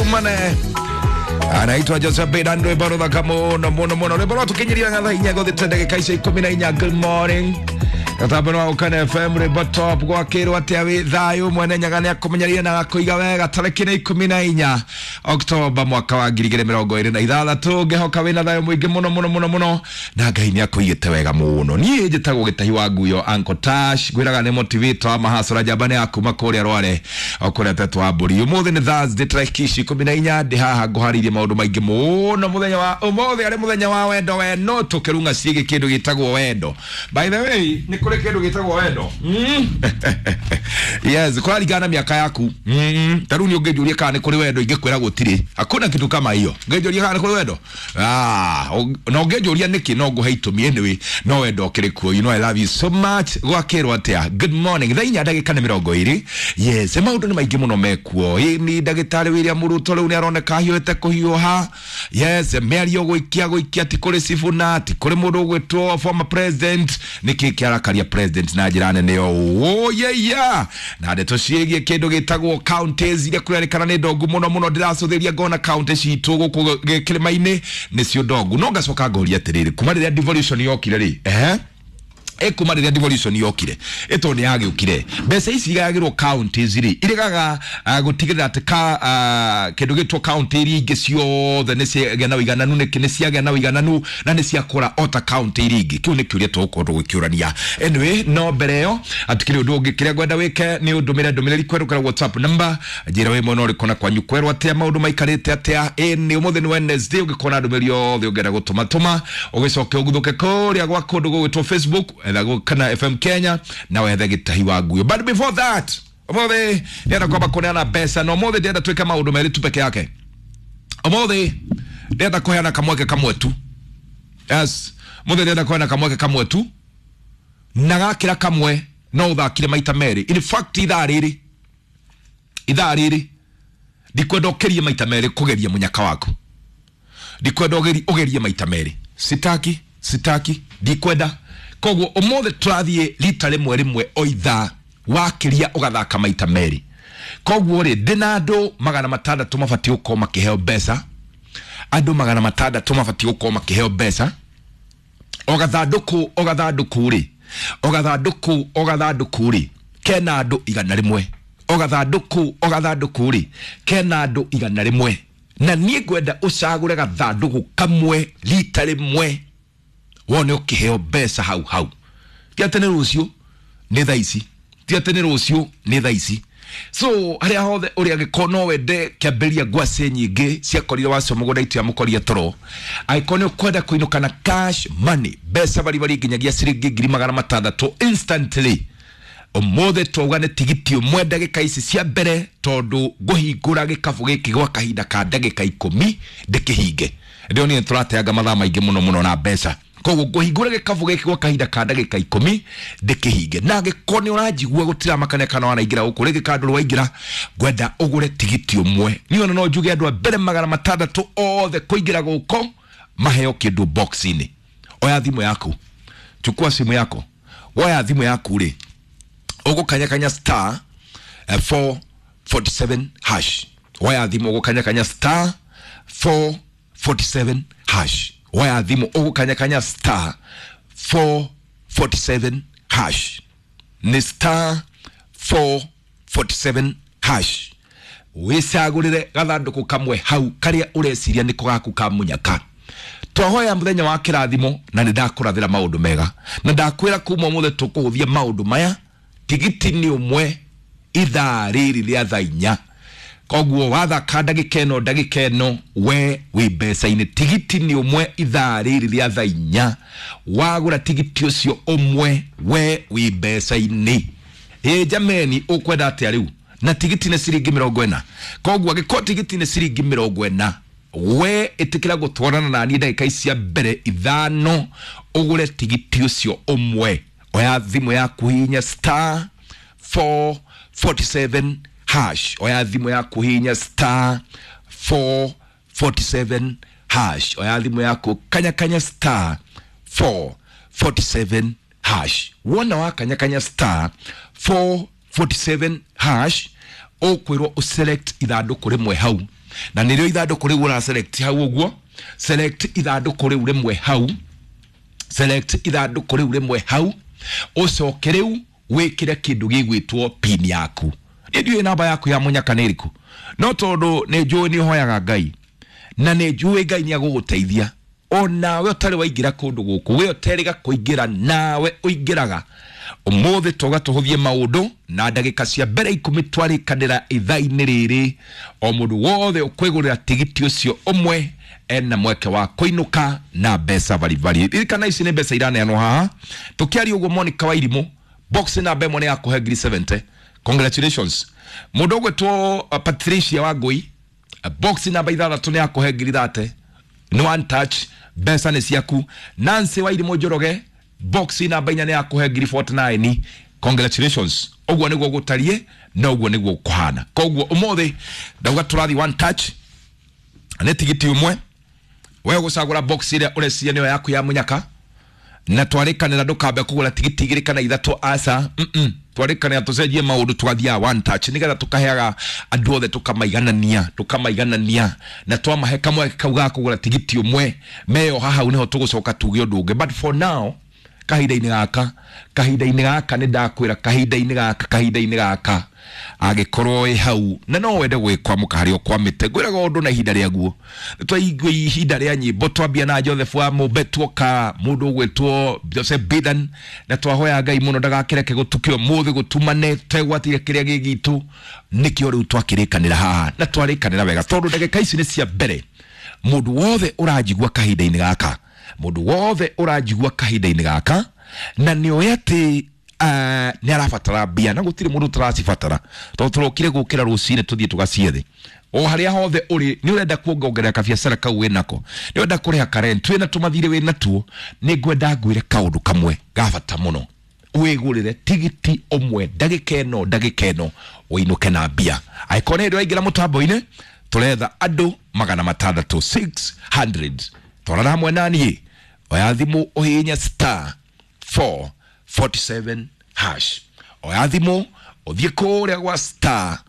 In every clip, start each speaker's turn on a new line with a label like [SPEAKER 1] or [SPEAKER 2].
[SPEAKER 1] Tumane anaitwa Joseph Bedan, rwimbo ruthaka muno muno muno, rwimbo rwatukinyiria thaa inya guthite ndagika icio 14. Good morning, gatambo wa Ukana FM, rwimbo top gwakirwo atia wi thayu mwene nyaga ni akumenyeria na gakuiga wega. Tariki ni 14 Oktoba mwaka wa 2026, ngihoka wina thayu mwingi muno muno muno muno na Ngai ni akuigite wega muno. Niĩ njĩtagwo Gĩtahi wa Nguyo, Uncle Tash, ngwĩraga nĩ motivator wa mahasũra njamba nĩ akuma kũrĩa Rware o kũrĩa tetwo wa mbũri. Ũmũthĩ nĩ Thursday tarĩki ici 14, ndĩ haha ngũharĩirie maũndũ maingĩ mũno. Mũthenya wa ũmũthĩ arĩ mũthenya wa wendo, we no tũkĩrung'a ciĩgiĩ kĩndũ gĩtagwo wendo. By the way, nĩ kũrĩ kĩndũ gĩtagwo wendo. Yes, kũraringana na mĩaka yaku. Ta rĩu niĩ ũngĩnjũria kana nĩ kũrĩ wendo, ingĩkwĩra gũtirĩ, hakuna kitu kama hiyo. Ũngĩnjũria kana nĩ kũrĩ wendo, na ũngĩnjũria nĩkĩ, no ngũhe itũmi. Anyway, no wendo ũkĩrĩ kuo. You know I love you so much. Gwakĩrwo atĩa? Good morning, thaa inya ndagĩka nĩ 20. Yes, maũndũ nĩ maingĩ mũno mekuo. Ĩ ni ndagĩtarĩ William Ruto rĩu nĩ aroneka ahiũhĩte kũhiũha. Yes, mĩario gũikia gũikia, ti kũrĩ Sifuna, ti kũrĩ mũndũ ũgwĩtwo former president. Nĩkĩ kĩarakaria president na njĩra nene ũũ? Yeya, na ndeto ciĩgiĩ kĩndũ gĩtagwo counties iria kũrerĩkana nĩ ndongu mũno mũno. Ndĩracũthĩria ngona county citũ gũkũ kĩrĩma-inĩ nĩcio ndongu, no ngacoka ngoria atĩrĩrĩ, kuma rĩrĩa devolution yokire rĩ, ehe, kuma rĩrĩa devolution yokire, ĩtondũ nĩ yagĩũkire, mbeca ici igayagĩrwo counties rĩ, iregaga gũtigĩrĩra atĩ ka kĩndũ gĩtwo county iria ingĩ ciothe nĩ ciagĩa na ũigananu, nĩ ciagĩa na ũigananu na nĩ ciakũra o ta county iria ingĩ? Kĩu nĩ kĩũria tũgũkorwo tũgĩkĩũrania. Anyway, no mbere ĩyo atikĩrĩ ũndũ ũngĩ, kĩrĩa ngwenda wĩke nĩ ũndũmĩre ndũmĩrĩri kwerũkĩra WhatsApp number, njĩra wĩ mwena ũrĩkũ na kwanyu kwerwo atĩa, maũndũ maikarĩte atĩa. Ĩ nĩ ũmũthĩ nĩ Wednesday, ũngĩkorwo na ndũmĩrĩri yothe ũngĩenda gũtũma tũma, ũgĩcoke ũguthũke kũrĩa gwa kũndũ gũgwĩtwo Facebook, etha Kana FM Kenya na wethe Gĩtahi wa Nguyo. But before that, ũmũthĩ ndĩrenda kwamba kũneana mbeca, na ũmũthĩ ndĩrenda twĩke maũndũ merĩ tu peke yake. Ũmũthĩ ndĩrenda kũheana kamweke kamwe tu. Yes, mũthĩ ndĩrenda kũheana kamweke kamwe tu, na gakĩra kamwe no ũthakire maita merĩ. In fact, ithaa rĩrĩ ndikwenda ũkĩrie maita merĩ kũgeria mũnyaka waku, ndikwenda ũgerie maita merĩ, sitaki, sitaki, ndikwenda. Koguo ũmũthĩ tũrathiĩ rita rĩmwe rĩmwe o ithaa, wakĩria ũgathaka maita merĩ. Koguo rĩ, ndĩna andũ 600 mabatiĩ gũkorwo makĩheo mbeca, andũ 600 mabatiĩ gũkorwo makĩheo mbeca. O gathandũkũ, o gathandũkũ rĩ, o gathandũkũ, o gathandũkũ rĩ, kena andũ 100. O gathandũkũ, o gathandũkũ rĩ, kena andũ 100, na niĩ ngwenda ũcagũre gathandũkũ kamwe rita rĩmwe, wone ũkĩheo mbeca hau hau. Ti atĩ nĩ rũciũ, nĩ thaa ici. Ti atĩ nĩ rũciũ, nĩ thaa ici. So harĩa hothe ũrĩa angĩkorwo no wende kĩambĩrĩria ngwacĩ nyingĩ ciakorire wacio mũgũnda itu yamũkoria toro, angĩkorwo nĩ ũkwenda kũinũka na cash money, mbeca baribari nginyagia ciringi 600,000 instantly, ũmũthĩ twauga nĩ tigiti ũmwe ndagĩka ici cia mbere, tondũ ngũhingũra gĩkabũ gĩkĩ gwa kahinda ka ndagĩka 10 ndĩkĩhinge. Ndĩronire tũrateanga mathaa maingĩ mũno mũno na mbeca, koguo ngũhingũra gĩkabũ gĩkĩ gwa kahinda ka ndagĩka 10 ndĩkĩhinge. Na angĩkorwo nĩ ũranjigua, gũtiramakania kana wanaingĩra gũkũ rĩngĩ kana ndũrĩ waingĩra, ngwenda ũgũre tigiti ũmwe. Niĩ ona no njuge andũ a mbere 600 othe kũingĩra gũkũ maheo kĩndũ box-inĩ. Oya thimũ yaku, chukua simu yako. Woya thimũ yaku rĩ, ũgũkanyakanya star 447 hash. Woya thimũ, ũgũkanyakanya star 447 hash. Woya thimũ, ũgũkanyakanya star 447 hash, nĩ star 447 hash. Wĩcagũrĩre gathandũkũ kamwe hau karĩa ũreciria nĩko gaku ka mũnyaka. Twahoya mũthenya wa kĩrathimo, na nĩ ndakũrathĩra maũndũ mega, na ndakwĩra kuma ũmũthĩ tũkũhũthia maũndũ maya. Tigiti nĩ ũmwe ithaa rĩrĩ rĩa thaa inya, koguo wathaka ndagĩka ĩno, ndagĩka ĩno we wĩ mbeca-inĩ. Tigiti nĩ ũmwe ithaa rĩrĩ rĩa thaa inya, wagũra tigiti ũcio ũmwe we wĩ mbeca-inĩ. Ĩ jameni, ũkwenda atĩa rĩu? Na tigiti nĩ ciringi 40, koguo angĩkorwo tigiti nĩ ciringi 40, we ĩtĩkĩra gũtwarana na niĩ ndagĩka ici cia mbere 5 ũgũre tigiti ũcio ũmwe. Oya thimũ yaku, hihinya star 447 hash. Oya thimũ yaku, hihinya star 447 hash. Oya thimũ yaku, kanya kanya star 447 hash. Wona wakanya kanya star 447 hash, ũkwĩrwo ũselect ithandũkũ rĩmwe hau. Na nĩrĩo ithandũkũ rĩu ũra select hau ũguo, select ithandũkũ rĩu rĩmwe hau, select ithandũkũ rĩu rĩmwe hau, ũcoke rĩu wĩkĩre kĩndũ gĩgwĩtwo pin yaku. Niĩ ndiũĩ namba yaku ya mũnyaka nĩ ĩrĩkũ, no tondũ nĩ njũĩ nĩ ũhoyaga Ngai na nĩ njũĩ Ngai nĩ agũgũteithia, onawe ũtarĩ waingĩra kũndũ gũkũ, we ũterĩga kũingĩra, nawe ũingĩraga ũmũthĩ. Toga tũhũthie maũndũ na ndagĩka cia mbere 10 twarĩkanĩra ithaa-inĩ rĩrĩ, o mũndũ wothe ũkwĩgũrĩra tigiti ũcio ũmwe ena mweke wa kũinũka na mbeca baribari. Ririkana ici nĩ mbeca iraneanwo haha tũkĩaria ũguo. Monica Wairimũ, box namba 1 nĩ yakũhe ngiri 70, congratulations. Mũndũ ũgwĩtwo Patricia Wangui, box namba 6 nĩ yakũhe ngiri 30, nĩ one touch, mbeca nĩ ciaku. Nancy Wairimũ Njoroge, box namba 4 nĩ yakũhe ngiri 49, congratulations. Ũguo nĩguo gũtariĩ na ũguo nĩguo kũhana. Koguo ũmũthĩ ndauga tũrathiĩ one touch, nĩ tigiti ũmwe, we gũcagũra box ĩrĩa ũreciria nĩyo yaku ya mũnyaka, na twarĩkanĩra ndũkambe kũgũra tigiti 2 kana 3, aca. Twarĩkanĩra tũcenjie maũndũ, tũgathiaga one touch nĩgetha tũkaheaga andũ othe, tũkamaiganania, tũkamaiganania, na twamahe kamweke kau ga kũgũra tigiti ũmwe meyoha hau, nĩho tũgũcoka tuge ũndũ ũngĩ. But for now, kahinda-inĩ gaka, kahinda-inĩ gaka, nĩ ndakwĩra, kahinda-inĩ gaka, kahinda-inĩ gaka, angĩkorwo wĩ hau na no wende gwĩkwamũka harĩa ũkwamĩte, ngwĩraga ũndũ na ihinda rĩaguo. Nĩtwaigua ihinda rĩa nyĩmbo, twambia na Joseph wa Mũmbe, tuoka mũndũ ũgwĩtwo Joseph Bidan, na twahoya Ngai mũno ndagakĩreke gũtuke ũmũthĩ gũtumane tegwatire kĩrĩa gĩ gitũ. Nĩkĩo rĩu twakĩrĩkanĩra haha na twarĩkanĩra wega, tondũ ndagĩka ici nĩ cia mbere. Mũndũ wothe ũranjigua kahinda-inĩ gaka, mũndũ wothe ũranjigua kahinda-inĩ gaka na nĩ oĩ atĩ nĩ arabatara mbia, na gũtirĩ mũndũ ũtaracibatara, tondũ tũrokire gũkĩra rũcinĩ tũthiĩ tũgaciethe. O harĩa hothe ũrĩ, nĩ ũrenda kuongongerera kabiacara kau wĩnako, nĩ ũrenda kũrĩha karent, wĩna tũmathirĩ wĩna tuo, nĩ ngwenda ngwĩre kaũndũ kamwe ga bata mũno: wĩgũrĩre tigiti ũmwe ndagĩka ĩno, ndagĩka ĩno, ũinũke na mbia. Angĩkorwo nĩ hĩndĩ waingĩra mũtambo-inĩ, tũretha andũ 600, 600. Twarana hamwe na niĩ, oya thimũ ũhihinye star 447 hash. Oya thimũ ũthiĩ kũrĩa gwa star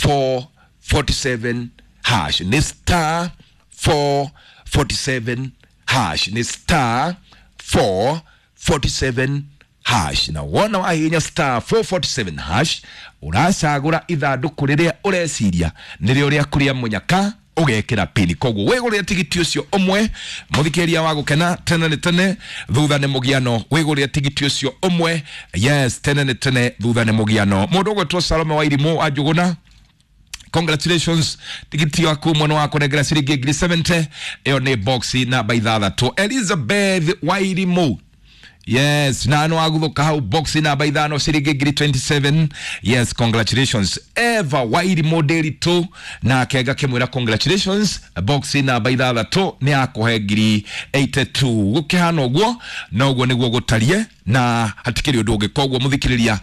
[SPEAKER 1] 447 hash, nĩ star 447 hash, nĩ star 447 hash. Na wona wahihinya star 447 hash, ũracagũra ithandũkũ rĩrĩa ũreciria nĩrĩo rĩaku rĩa mũnyaka, ũgekĩra pini, koguo wĩgũrĩre tigiti ũcio ũmwe. Mũthikĩria wa gũkena, tene nĩ tene thutha nĩ mũgiano. Wĩgũrĩre tigiti ũcio ũmwe, yes, tene nĩ tene thutha nĩ mũgiano. Mũndũ ũgwĩtwo Salome wa Irimũ wa Njũgũna, congratulations, tigiti waku mwana wa kũnengera ciringi ngiri 70, ĩyo nĩ box namba 6. Elizabeth Wairimũ, yes, na no aguthuka hau, box namba 5, ciringi ngiri 27, yes, congratulations. Eva Wairimũ Nderitu, nake ngakĩmwĩra congratulations, box namba 6 nĩ akũhe ngiri 82. Gũkĩhana ũguo na ũguo nĩguo gũtarie na hatikĩrĩ ũndũ ũngĩ. Koguo mũthikĩrĩria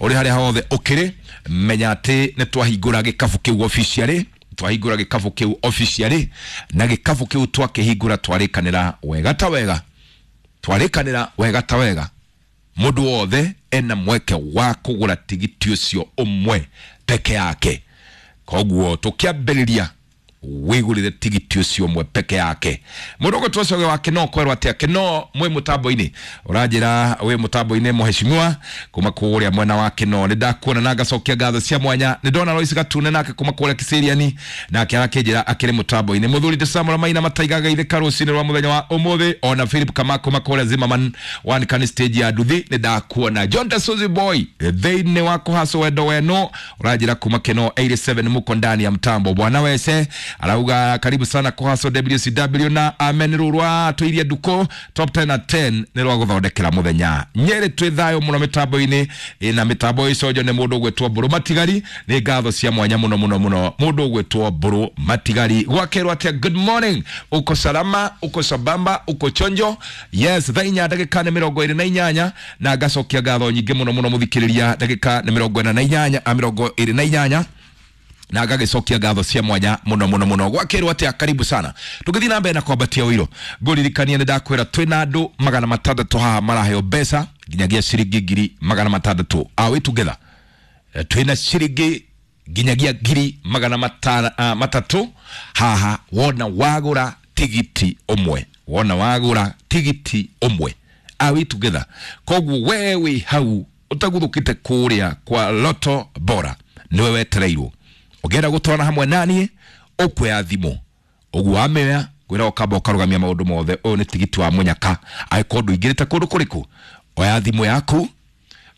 [SPEAKER 1] ũrĩ harĩa hothe ũkĩrĩ, menya atĩ nĩ twahingũra gĩkabu kĩu officially, twahingũra gĩkabu kĩu officially, na gĩkabu kĩu twakĩhingũra twarĩkanĩra wega ta wega, twarĩkanĩra wega ta wega, mũndũ wothe ena mweke wa kũgũra tigiti ũcio ũmwe peke yake. Koguo tũkĩambĩrĩria, wĩgũrĩre tigiti ũcio ũmwe peke yake. Mũndũ ũgwĩtwo Coge wa Kĩno, kwerwo atĩa Kĩno? Mwĩ mũtambo-inĩ, ũranjĩra wĩ mũtambo-inĩ, mũheshimiwa kuma kũrĩa mwena wa Kĩno, nĩ ndakuona na ngacokia ngatho cia mwanya. Nĩ ndona Lois Gatune nake kuma kũrĩa Kiseriani, nake arakĩnjĩra akĩrĩ mũtambo-inĩ. Mũthuri Samuel Maina mataigaga itheka rũcinĩ rwa mũthenya wa ũmũthĩ. Ona Philip Kamako kuma kũrĩa Zimmerman one can stage ya nduthi, nĩ ndakuona. John Tasuzi Boy thĩinĩ wa kũhaco wendo weno, ũranjĩra kuma Kĩno 87 muko ndani ya mtambo. Bwana wese arauga karibu sana kũhaco WCW na amen. Rũrwa tũirie nduko top 10 na 10 nĩ rwa gũthondekera mũthenya. Nyĩrĩ twĩ thayũ mũno mĩtambo-inĩ na mĩtambo icojo nĩ mũndũ ũgwĩtwo Mbũrũ Matigari. Nĩ ngatho cia mwanya mũno mũno mũno, mũndũ ũgwĩtwo Mbũrũ Matigari. Gwakerwo atĩa? Good morning, uko salama, uko sambamba, uko chonjo? Yes, thaa 4 ndagĩka nĩ 28, na ngacokia ngatho nyingĩ mũno mũno mũthikĩrĩria. Ndagĩka nĩ 48, 28, na ngagĩcokia ngatho cia mwanya mũno mũno mũno. Gwakĩrwo atĩa? Karibu sana. Tũgĩthiĩ na mbere na kwambatia ũiro, ngũririkania nĩ ndakwĩra twĩna andũ 600 haha maraheo mbeca nginyagia ciringi 600,000. Are we together? Twĩna ciringi nginyagia ngiri magana matatũ haha wona wagũra tigiti ũmwe, wona wagũra tigiti ũmwe. Are we together? Koguo we wĩ hau ũtaguthũkĩte kũrĩa kwa Loto Bora nĩwe wetereirwo. Ũngĩenda gũtwarana hamwe naniĩ ũkuoya thimũ ũguo wamĩoya ngwĩra ũkamba ũkarũgamia maũndũ mothe. Ũyũ nĩ tigiti wa mũnyaka angĩkorwo ndũingĩrĩte kũndũ kũrĩkũ, oya thimũ yaku,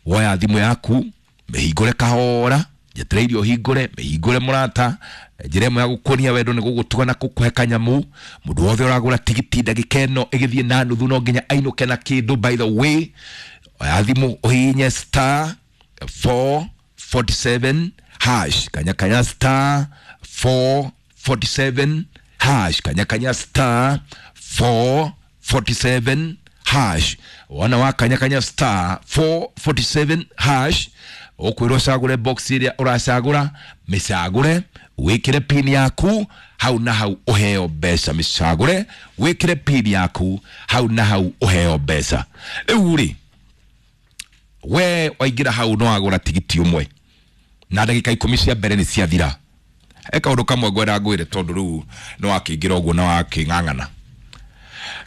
[SPEAKER 1] woya thimũ yaku mĩhingũre kahora, njetereire ũhingũre, mĩhingũre mũrata. Njĩra ĩmwe ya gũkuonia wendo nĩ gũgũtuga na gũkũhe kanyamu. Mũndũ wothe ũragũra tigiti ndagĩka ĩno ĩgĩthiĩ na nuthu no nginya ainũke na kĩndũ. By the way, oya thimũ ũhihinye star 447 hash, kanya kanya star 447 hash, kanya kanya star 447 hash. Wona wa kanya kanya star 447 hash ũkwĩrwo ũcagũre box ĩrĩa ũracagũra, mĩcagũre wĩkĩre pin yaku hau na hau ũheo mbeca. Mĩcagũre wĩkĩre pin yaku hau na hau ũheo mbeca. Rĩu rĩ, we waingĩra hau no wagũra tigiti ũmwe na ndagĩka 10 cia mbere nĩ ciathira. He kaũndũ kamwe ngwenda ngwĩre tondũ rĩu nĩ wakĩingĩra ũguo na wakĩng'ang'ana.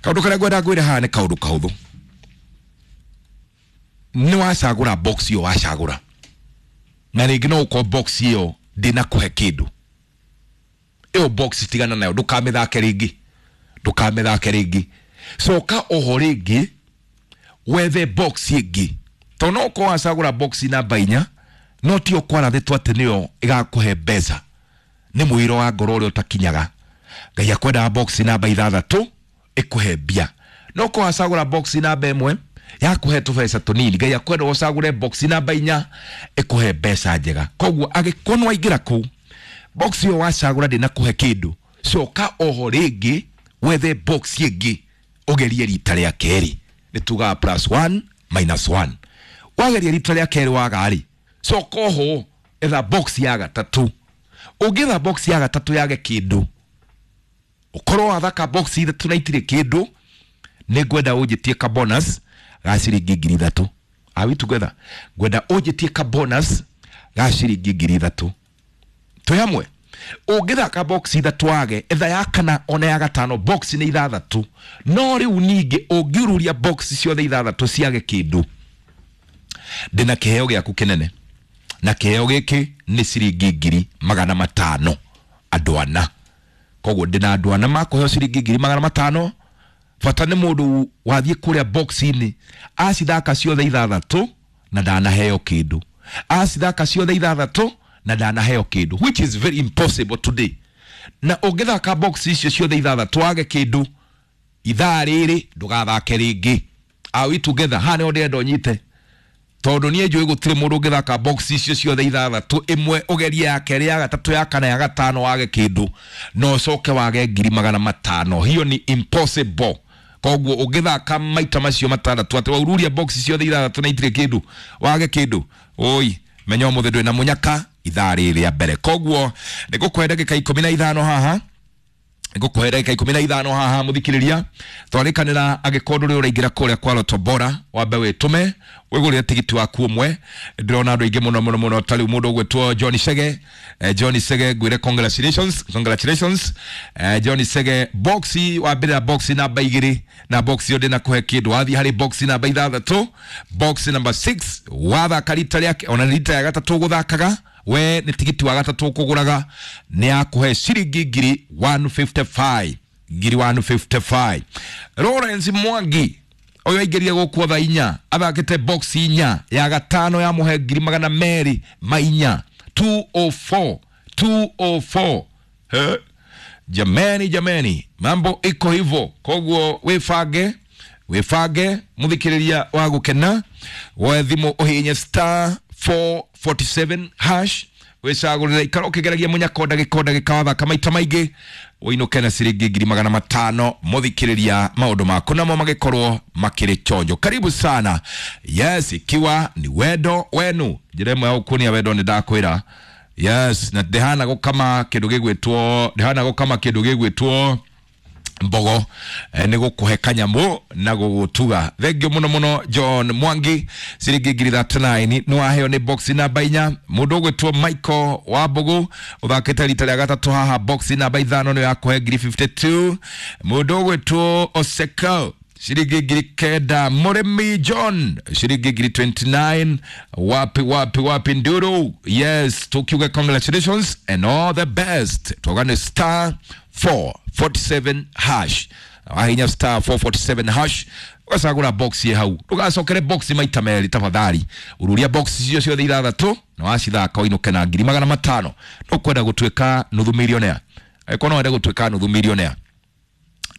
[SPEAKER 1] Kaũndũ karĩa ngwenda ngwĩre haha nĩ kaũndũ kahũthũ. Nĩ wacagũra box ĩyo wacagũra, na rĩngĩ no ũkorwo box ĩyo ndĩnakũhe kĩndũ. Ĩyo box tigana nayo, ndũkamĩthake rĩngĩ, ndũkamĩthake rĩngĩ. Coka oho rĩngĩ wethe box ĩngĩ, tondũ no ũkorwo wacagũra box namba 4 no tio kwarathĩtwo atĩ nĩyo ĩgakũhe mbeca. Nĩ mũiro wa ngoro ũrĩa ũtakinyaga. Ngai akwendaga box namba 6 ĩkũhe mbia. No ũkorwo wacagũra box namba 1 yakũhe tũbeca tũnini, Ngai akwenda ũcagũre box namba 4 ĩkũhe mbeca njega. Koguo angĩkorwo nĩ waingĩra kũu box ĩyo wacagũra ndĩnakũhe kĩndũ, coka oho rĩngĩ wethe box ĩngĩ ũgerie rita rĩa kerĩ. Nĩ tugaga plus 1 minus 1. Wageria rita rĩa kerĩ waga rĩ, coka oho etha box ya gatatũ. Ũngĩetha box ya gatatũ yage kĩndũ, ũkorwo wathaka box ithatũ na itirĩ kĩndũ, nĩ ngwenda ũnjĩtie ka bonus ga ciringi 3,000. Are we together? Ngwenda ũnjĩtie ka bonus ga ciringi 3,000. Twĩ hamwe? Ũngĩthaka box ithatũ wage, etha ya kana ona ya gatano, box nĩ 6. No rĩu ningĩ ũngiururia box ciothe 6 ciage kĩndũ, ndĩna kĩheo gĩaku kĩnene, na kĩheo gĩkĩ nĩ ciringi 500,000 andũ ana. Koguo ndĩna andũ ana makũheo ciringi 500,000. Bata nĩ mũndũ wathiĩ kũrĩa box-inĩ acithaka ciothe 6 na ndanaheo kĩndũ, acithaka ciothe 6 na ndanaheo kĩndũ, which is very impossible today. Na ũngĩthaka box icio ciothe 6 wage kĩndũ, ithaa rĩrĩ ndũgathake rĩngĩ. Are we together? Haha nĩho ndĩrenda ũnyite, tondũ niĩ njũĩ gũtirĩ mũndũ ũngĩthaka box icio ciothe 6, ĩmwe ũgerie ya kerĩ, ya gatatũ, ya kana, ya gatano wage kĩndũ na ũcoke wage 500,000. Hiyo ni impossible. Koguo ũngĩthaka maita macio 6 atĩ waururia box ciothe 6 na itirĩ kĩndũ wage kĩndũ, oi menya ũmũthĩ ndwĩ na mũnyaka ithaa rĩrĩ rĩa mbere. Koguo nĩ ngũkũhe ndagĩka 15 haha, ngũkũhe ndagĩka 15 haha mũthikĩrĩria, twarĩkanĩra angĩkorwo ndũrĩ ũraingĩra kũrĩa kwa Loto Bora wambe wĩtũme wĩgũrĩre tigiti waku ũmwe. Ndĩrona andũ aingĩ mũno mũno mũno, ta rĩu mũndũ ũgwĩtwo John Chege. John Chege ngwĩre congratulations, congratulations. John Chege, box wambĩrĩra box namba 2 na box ĩyo ndĩnakũhe kĩndũ, wathiĩ harĩ box namba 6, box number 6 wathaka rita rĩake, ona rita ya gatatũ ũgũthakaga we nĩ tigiti wa gatatũ ũkũgũraga, nĩ yakũhe ciringi 155,000, 155,000. Lawrence Mwangi ũyũ aingĩrire gũkũ thaa 4 athakĩte box 4 ya gatano yamũhe 204,000, 204, 204. He? Jameni, jameni, mambo iko hivyo. Koguo wĩbange, wĩbange mũthikĩrĩria wa gũkena, woe thimũ ũhihinye star 447 hash wĩcagũrĩre, ikara ũkĩgeragia mũnyako ndagĩka o ndagĩka, wathaka maita maingĩ ũinũke na ciringi 500,000. Mũthikĩrĩria, maũndũ maku namo magĩkorwo makĩrĩ chonjo. Karibu sana. Yes, ikiwa ni wendo wenu, njĩra ĩmwe ya gũkuonia wendo nĩ ndakwĩra. Yes, na ndĩhana gũkama kĩndũ gĩgwĩtwo, ndĩhana gũkama kĩndũ gĩgwĩtwo Mbogo nä gå kå he kanyamå na gå gå tuga. Thengio må no må no John Mwangi, ciringi 39,000 nä waheo nä box namba 4. Må ndå å gwä two Michael wa Mbũgũ, å thakä te rita rä a gatatũ haha, box namba 5 nä yakũhe 52,000. Må ndå å gwä two Oseko, ciringi 9,000. Mũrĩmi John, ciringi 29,000. Wapi wapi wapi nduru? Yes, tukiuga congratulations and all the best. Twagane star 447 hash, wahinya star 447 hash, ũgacagũra box ĩ hau, ndũgacokere box maita merĩ tafadhali. Ururia box icio ciothe ithathatũ na wacithaka ũinũke na 500,000. Nũkwenda gũtuĩka nuthu millionaire? Angĩkorwo no wende gũtuĩka nuthu millionaire,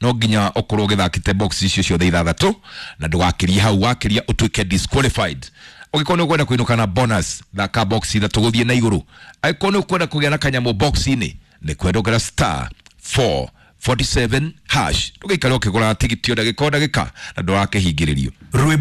[SPEAKER 1] no nginya ũkorwo ũgĩthakĩte box icio ciothe ithathatũ na ndũgakĩrie hau. Wakĩria ũtuĩke disqualified. Ũngĩkorwo nĩ ũkwenda kũinũka na bonus, thaka box ithatũ gũthiĩ na igũrũ. Angĩkorwo nĩ ũkwenda kũgĩa na kanyamũ box-inĩ, nĩ kwendokera star 447 hash. Ndũgĩikare ũkĩgũraga tigiti o ndagĩka o ndagĩka na ndũrakĩhingĩrĩrio.
[SPEAKER 2] Rwĩmbo.